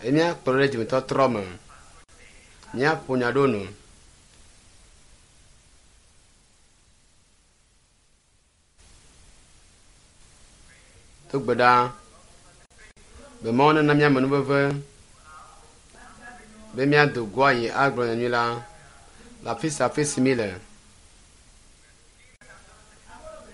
Eye míakplɔ ɖe dzimetɔtrɔ me. Míaƒo nya ɖo nu. Do gbe ɖa be Mawu nena mía amenuveve be míado go ayi agblɔ nyanyui la le afi sia afi si míle.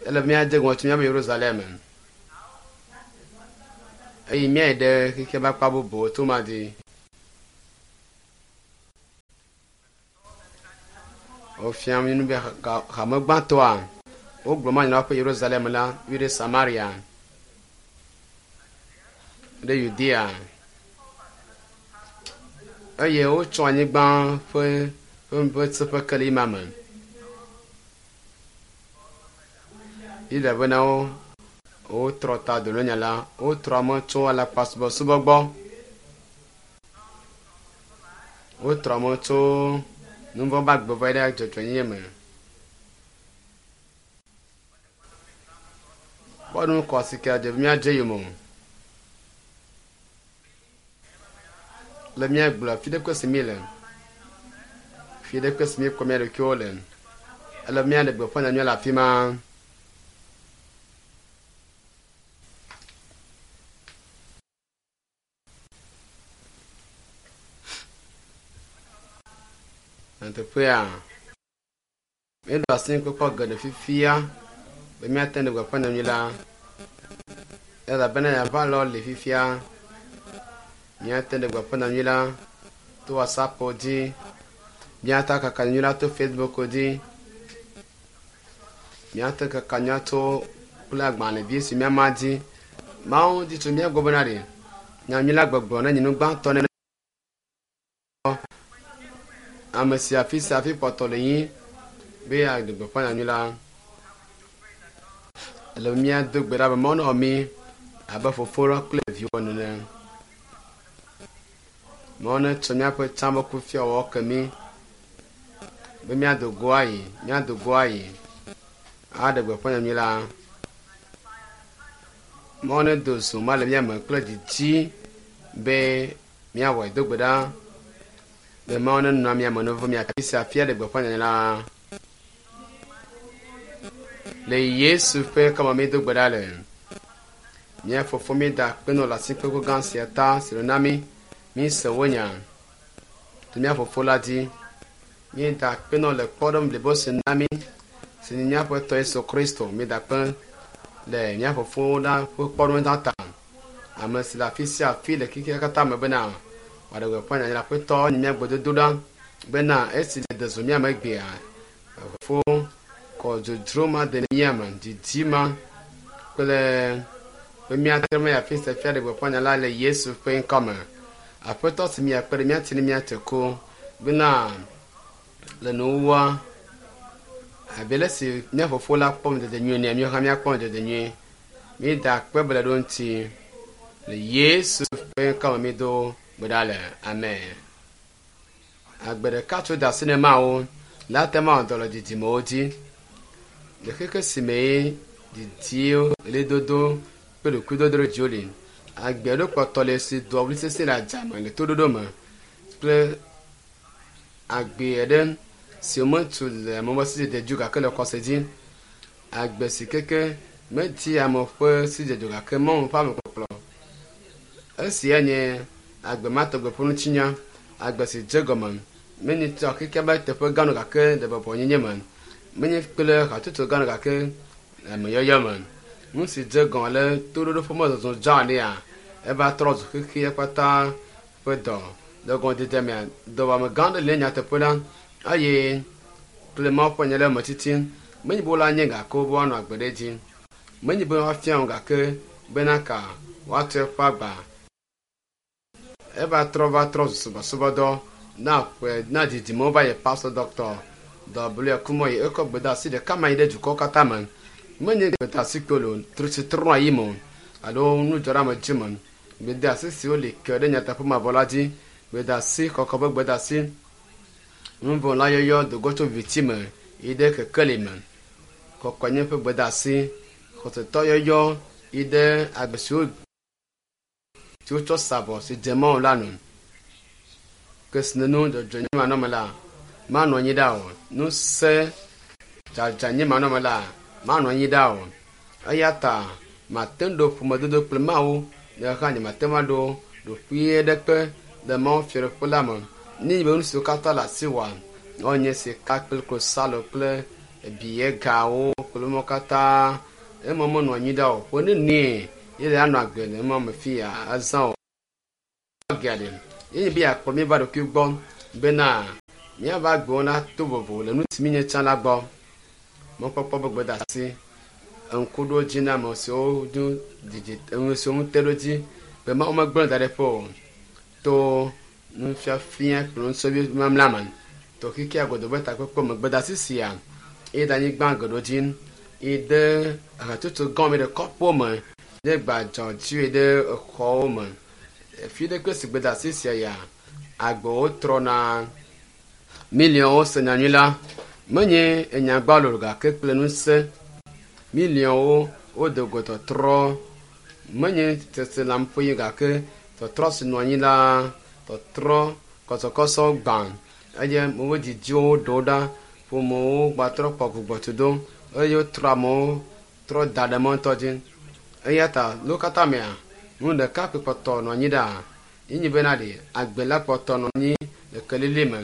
Ele be míadze gɔme tso míaƒe Yerusalem eye míayi ɖe xexea ƒe akpa bubuwo to ma dzi. Wofia nu be hame gbãtɔa wogblɔ manya na woƒe Yerusalem la yi ɖe Samaria, ɖe Yudea eye wotsɔ anyigba ƒe ƒe seƒe ke le ima me. Yuda bena wo wotrɔ ta do nya la wotrɔ ame tso alakpasubɔsubɔ gbɔ. Wotrɔ ame tso nuvɔ̃ ƒe agbe va yi ɖe dzɔdzɔenyenye me. Kpɔɖeŋu kɔ si ke dze be míadze yome o. Le míagblɔ fi ɖe kpe si míle, fi ɖe kpe si míekpɔ mía ɖokuiwo le, ele be míaɖe gbeƒã nyanyuia le afi ma. Nyateƒea, míeɖo asi kpɔkpɔ geɖe fifia be míate ŋu aɖe gbeƒã nyanyui la elabena yeava lɔ li fifia. Míate ŋu aɖe gbeƒã nyanyui la to WhatsApp dzi, míate kaka nyanyui la to Facebook dzi, míate kaka nyanyui la to kple agbalẽvi si míama dzi. Mawu di tso mía gbɔ bena ɖe nyanyui la gbɔgblɔ nenye nu gbãtɔ ne ame sia afi sia afi kpɔtɔ le nyi be yeaɖe gbeƒã nyanyui la. Ele be míado gbe ɖa be Mawu newɔ mí abe fofo la kple viwo ene. Mawu netsɔ míaƒe tsã ƒe kufiawɔwɔ ke mí be míado go ayi, míado go ayi aɖe gbeƒã nyanyui la. Mawu nedo zo ma le mía me kple didi be míawɔe do gbe ɖa be Mawu nenɔ mía me ne mía afi sia afi aɖe gbeƒã nyanyui la. Le Yesu ƒe kɔme míedo gbe ɖa le. Mía fofo míeda akpe nɔ le asikpekpe gã sia ta si le na mí. Míese wò nya to mía fofo la dzi. Míeda akpe nɔ le kpɔɖeŋu blibo si na mí si nye míaƒe Tɔ Yesu Kristo. Míeda akpe le mía fofo la ƒe kpɔɖeŋu la ta. Ame si le afi sia afi le xexea katã me bena wòaɖe gbeƒã nyanyui la. Aƒetɔ nye mía gbedodoɖa bena esi nède zo mía me egbea, fofo kɔ dzodzro ma de mía me, didi ma kple be míate ŋu ayi afi sia afi aɖe gbeƒã nya la le Yesu ƒe ŋkɔ me. Aƒetɔ si míakpe ɖe mía ti ne míate ko bena le nuwuwua abe le si mía fofo la kpɔ ŋudzedze nyuie nea, míawo hã míakpɔ ŋudzedze nyuie. Míeda akpe ble ɖo ŋuti le Yesu ƒe ŋkɔ me mído gbe ɖa le. Amen. Agbe ɖeka tso da asi ne Mawu la te ŋu awɔ dɔ le didimewo dzi. Le xexe si me didiwo, ɣlidodo kple ɖokuidodoɖedziwo li. Agbe ɖo kpɔtɔ le si doa ɣli sesĩe le adzame le toɖoɖo me kple agbe aɖe si wometu le ame ƒe sidzedze dzi o gake le xɔse dzi. Agbe si keke medi ame ƒe sidzedze o gake Mawu ƒe amekpɔkplɔ. Esia nye agbe ma tɔgbe ƒe ŋutinya. Agbe si dze gɔme menye tso xexea ƒe teƒe gã no gake le bɔbɔnyenye me. Menye kple hatsotso gã no gake le ameyɔyɔ me. Nu si dze gɔme le toɖoɖo ƒe mɔzɔzɔ dzeania eva trɔ zu xexea katã ƒe dɔ. Le gɔmedzedze mea, dɔwɔame gã aɖe le nyateƒe la eye kple Mawu ƒe nya le eme titi. Menye be wola nye gake be woanɔ agbe ɖe edzi. Menye be woafia wo gake bena ka woatu eƒe agba. Eva trɔ va trɔ zu subɔsubɔdɔ na ƒe na didimewo va yi Pastor Dr. W. Kumoyi ekɔ gbedeasi ɖeka ma yi ɖe dukɔwo katã me. Menye gbedeasi kpolo si trɔna yi me o alo nudzɔɖeamedzi me. Gbedeasi siwo li ke ɖe nyateƒe mavɔ la dzi. Gbedeasi kɔkɔ ƒe gbedeasi. Nuvɔ̃ la yɔyɔ do go tso viviti me yi ɖe kekeli me. Kɔkɔenye ƒe gbedeasi. Xɔsetɔ yɔyɔ yi ɖe agbe siwo si wotsɔ sa vɔ si dze Mawu la nu. Kesinɔnu dzɔdzɔenye manɔme la manɔ anyi ɖa o. Ŋusẽ dzadzanye manɔme la manɔ anyi ɖa o. Eya ta mate ŋu ɖo ƒomedodo kple Mawu ne hã nyemate ŋu aɖo ɖoƒe ɖeke le Mawu fiaɖuƒe la me. Ne nye be nu siwo katã le asiwòa, woanye sika kple klosalo kple biyegawo kple nuwo katã ema menɔ anyi ɖa o. Ƒe nenie ye le anɔ agbe le ema me fi ya azã o. Gea ɖe ye nye be yeakplɔ mi va ɖokui gbɔ bena míava agbewo nato vovo le nu si míenye tsã la gbɔ. Mɔkpɔkpɔ be gbedeasi ŋkuɖodzi na ame siwo ŋu didi enu siwo ŋu te ɖo dzi be Mawu megblẽ da ɖe ƒe o to nufiafia kple nusɔvi mamla me. To xexea godoo be takpekpe me gbedeasi sia eye ɖe anyigba geɖewo dzi yi ɖe hatsotso gãwo me ɖe kɔƒewo me ɖe gbadzɔ dzi ɖe exɔwo me. Fi ɖe kple si gbedeasi sia ya agbewo trɔna. Miliɔnwo se nyanyui la menye enyagbalo gake kple ŋusẽ. Miliɔnwo wode go tɔtrɔ menye seselãmeƒe gake tɔtrɔ si nɔ anyi la tɔtrɔ kɔsɔkɔsɔ gbã eye woƒe didiwo ɖewo ɖa ƒomewo gbatrɔ kpɔ gbugbɔtudo eye wotrɔ amewo trɔ da ɖe mɔ ŋutɔ dzi. Eya ta le wo katã mea nu ɖeka koe kpɔtɔ nɔ anyi ɖa ye nye bena ɖe agbe la kpɔtɔ nɔ anyi le kelili me.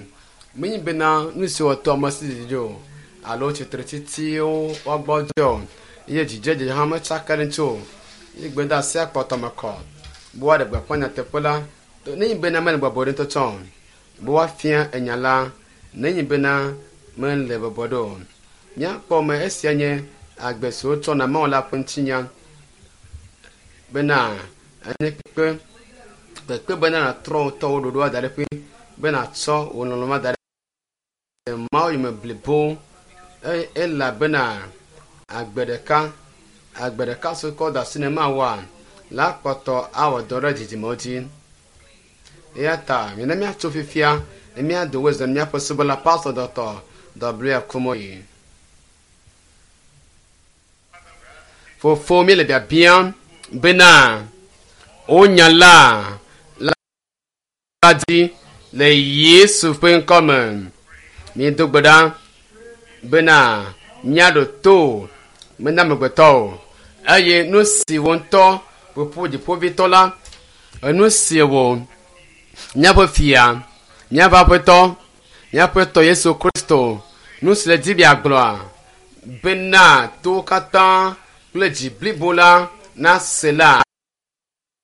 Menye bena nu si wɔtɔ ame si didi o alo tsitretsitsiwo woagbɔdzɔ o eye dzidzedze hã metsaka ɖe ŋuti o. Ye gbedeasia kpɔtɔ me kɔ be woaɖe gbeƒã nyateƒe la nenye bena mele bɔbɔe ɖe ŋutɔ tsã o be woafia enya la nenye bena mele bɔbɔe ɖe o. Míakpɔ me esia nye agbe si wotsɔ na Mawu la ƒe ŋutinya bena enye kpekpe kpekpe bena nàtrɔ wò ŋutɔ wò ɖoɖo ada ɖe ƒe be nàtsɔ wò lɔlɔ̃ ada ɖe Mawu yome blibo elabena agbe ɖeka agbe ɖeka si wokɔ da asi na Mawua la kpɔtɔ awɔ dɔ ɖe dzidzimewo dzi. Eya ta mina míatso fifia ne míado wezɔ míaƒe subɔla Pastor Dr. W. Kumoyi. Fofo míele biabiam bena wonya la la dzi le Yesu ƒe ŋkɔ me. Míedo gbe ɖa bena míaɖo to mena amegbetɔ o eye nu si wo ŋutɔ ƒoƒu dziƒovitɔ la enu si wò míaƒe fia míaƒe aƒetɔ míaƒe tɔ Yesu Kristo nu si le dzi be yeagblɔa bena towo katã kple dzi blibo la nase la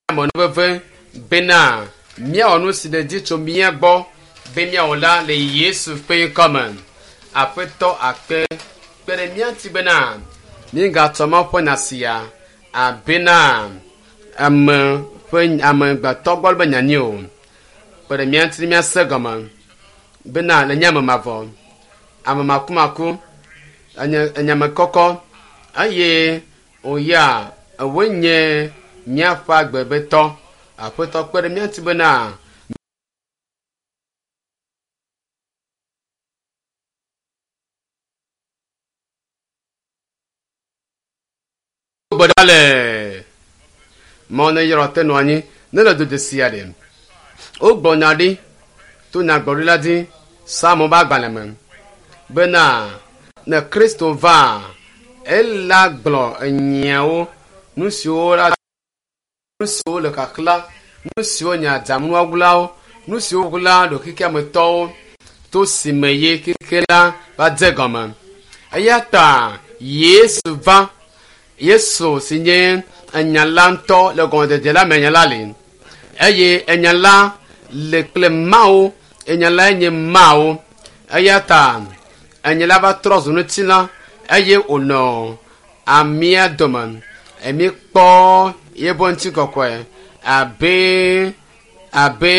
amenuveve bena míawɔ nu si le dzi tso mía gbɔ be míawɔ la le Yesu ƒe ŋkɔ me. Aƒetɔ akpe kpe ɖe mía ŋuti bena mígatsɔ Mawu ƒe nya sia abena ame ƒe amegbetɔ gbɔ be nya nyi o. Kpe ɖe mía ŋuti míase gɔme bena le nye ame mavɔ, ame makumaku, enye enyame kɔkɔ eye wòya ewoe nye míaƒe agbebetɔ. Aƒetɔ kpe ɖe mía ŋuti bena gbe ɖa le Mawu ne yrɔ te nɔ anyi ne le do dzesi aɖe. Wogblɔ nya ɖi to nyagblɔɖila dzi Psalmo ƒe agbalẽ me bena ne Kristo va ela gblɔ enyiawo nu siwo la nu siwo le xaxla nu siwo nye adzanuwɔlawo nu siwo ɣla ɖoxexeametɔwo to si me ye xexe la va dze gɔme. Eya ta Yesu va Yesu si nye enya la ŋutɔ le gɔmedzedze la me enya la li eye enya la le kple Mawu enya lae nye Mawu eya ta enya la va trɔ zu ŋutilã eye wònɔ amea dome. Míekpɔ yeƒe ŋutikɔkɔe abe abe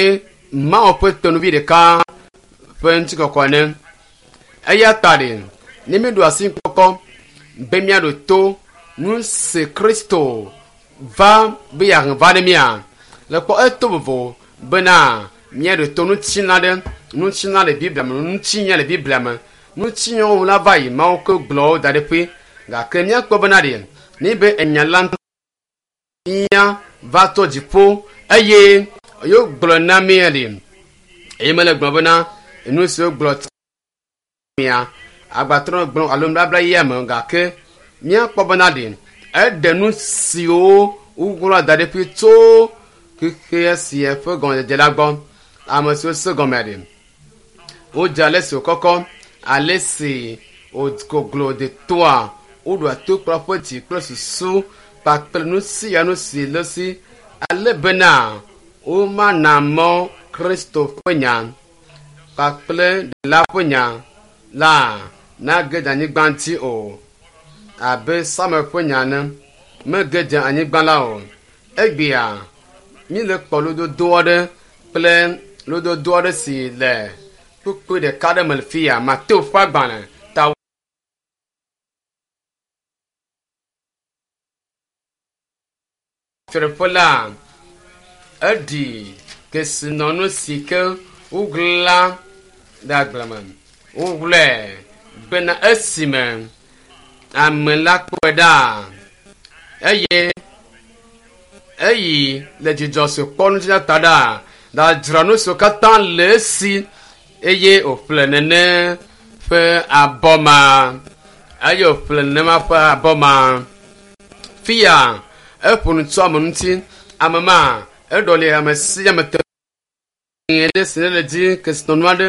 Mawu ƒe tenuvi ɖeka ƒe ŋutikɔkɔe ene. Eya ta ɖe ne míeɖo asi kpɔkpɔ be míaɖo to nu si Kristo va be yeahe va ne mía le kpɔ eto vovo bena míaɖo to ŋutilã ɖe ŋutilã le Biblia me ŋutinya le Biblia me ŋutinyawo la va yi Mawu ke gblɔ wo da ɖe ƒe gake míakpɔ bena ɖe ne be enya la nya va to dziƒo eye yewogblɔ na mí ɖi eye mele gblɔ bena nu si wogblɔ mia agbatrɔ gblɔ alo nubabla yia me gake míakpɔ bena ɖi eɖe nu siwo wogblɔ da ɖi ƒi tso xexea sia ƒe gɔmedzedze la gbɔ. Ame siwo se gɔme ɖi wodze ale si wòkɔkɔ, ale si wògoglo detoa, woɖoa to kple woƒe dzi kple susu kpakple nu sia nu si le esi ale bena womana mɔ Kristo ƒe nya kpakple Ɖela ƒe nya la nage ɖe anyigba dzi o. Abe Samuel ƒe nya ene, mege dze anyigba la o. Egbea míele kpɔ lododo aɖe kple lododo aɖe si le kpukpui ɖeka aɖe me le fi ya, Mateo ƒe agbalẽ ta Fiaɖuƒe la eɖi kesinɔnu si ke woɣla ɖe agble me. Woɣlae bena esime ame la kpɔe ɖa eye eyi le dzidzɔ si wòkpɔ ŋuti la ta ɖa, ɖadzra nu siwo katã le esi eye wòƒle nene ƒe abɔ ma. Eye wòƒle nenema ƒe abɔ ma. Fia eƒo nu tso ame ŋuti. Ame ma eɖɔli ame sia ame te ame aɖe si ne le dzi kesinɔnu aɖe,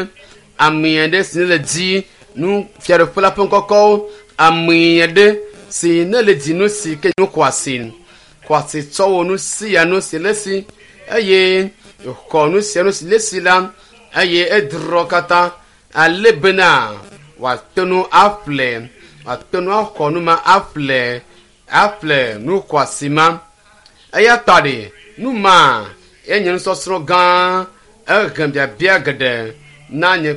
ame aɖe si ne le dzi nu fiaɖuƒe la ƒe ŋkɔkɔwo, ame aɖe si ne le dzi nu si ke nu xɔasi, xɔasi tsɔ wɔ nu sia nu si le esi eye wòxɔ nu sia nu si le esi la eye edrɔ katã ale bena wòate ŋu aƒle, wòate ŋu axɔ nu ma aƒle, aƒle nu xɔasi ma. Eya ta ɖe nu ma enye nusɔsrɔ̃ gã ehe biabia geɖe na nye